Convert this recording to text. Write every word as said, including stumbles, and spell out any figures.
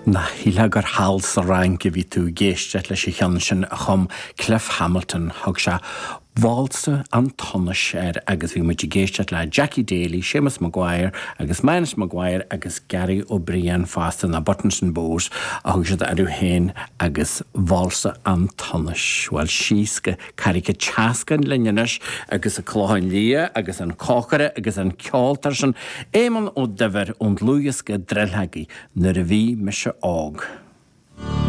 Nach shílfeá gur thall sa Fhrainc a bhí tú ag éisteacht leis an cheann sin a chum Cliff Hamilton. Thug sé Válsa an tSonais air agus bhí muid ag éisteacht le Jackie Daly, Seamus Maguire agus Manus Maguire agus Gary Ó Briain fosta na Buttons and Bows a thug siad orthu féin agus Válsa an tSonais. Bhuel síos go Carraig an tSeascainn linn anois agus an Clochán Liath agus an cócaire agus an ceoltóir sin Éamonn Ó Duibhir ón dlúthdhiosca Drilltheagaí nuair a bhí mise óg.